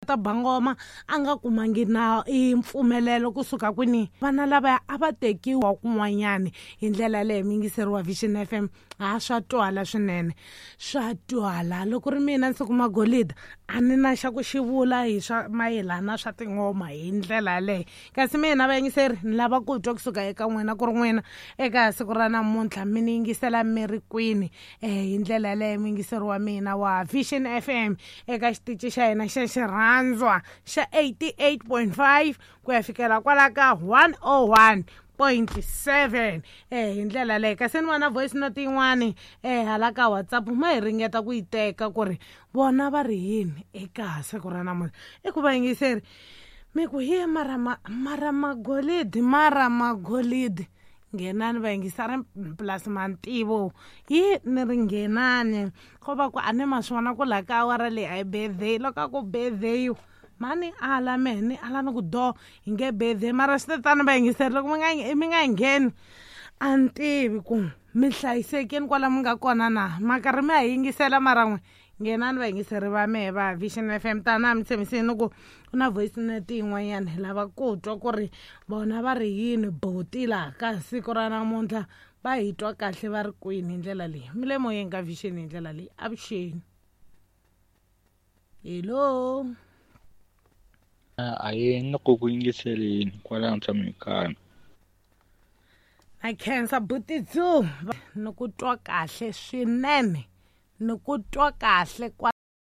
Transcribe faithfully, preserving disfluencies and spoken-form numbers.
Ta ba ngoma a nga kumangi na i mpfumelelo kusuka kwini. Vana lavaya a va tekiwa kun'wanyani hi ndlela yaleyo. Muyingiseri wa Vision F M, ha, swa twala swinene, swa twala. Loko ri mina Nsiku Magolida, a ni na xa ku xi vula hi swa mayelana swa tingoma hi ndlela yaleyo. Kasi mina, vayingiseri, ni lava ku twa kusuka eka n'wina ku ri n'wina eka siku ra namuntlha mi ni yingisela mi ri kwini um hi ndlela yaleyo. Muyingiseri wa mina wa Vision F M eka xitici xa hina xa xirhandzwa xa eighty-eight point five ku ya fikela kwala ka one oh one point seven eh hi ndlela leyo. Kasi ni vona voice note yin'wani eh hala ka WhatsApp, ma hi ringeta ku yi teka ku ri vona va ri yini eka siku ra namuntlha. I ku, vayingiseri, mi ku ye mara ma mara magolidi, mara magolidi, nghenani vayingiseri plus mantivo yi ni ri nghenani ko va ku a ni ma swi vona ku laha ka awara leyi a yi birthday. Loko a ku birthday, mani ala mehe ni ala ni ku do hi nge birthday. Mara swi te tani, vayingiseri, loko mi nga mi nga ngheni, a ni tivi ku mi hlayisekini kwala mi nga kona na ma karhi mi ha yingisela. Mara n'we nghenani, vayingiseri va mehe va Vision F M, tana mi tshembisini ku ku na voice note yin'wanyana, hi lava ku twa ku ri vona va ri yini boti laha ka siku ra namuntlha, va hi twa kahle va ri kwini hi ndlela leyi. Mi le moyeni ka Vision hi ndlela leyi. Avuxeni, hello. A yi ni ku ku yingiseleni kwalano, tshame kaya. Na khensa, butitsu, ni ku twa kahle swinene, ni ku twa kahle kwa.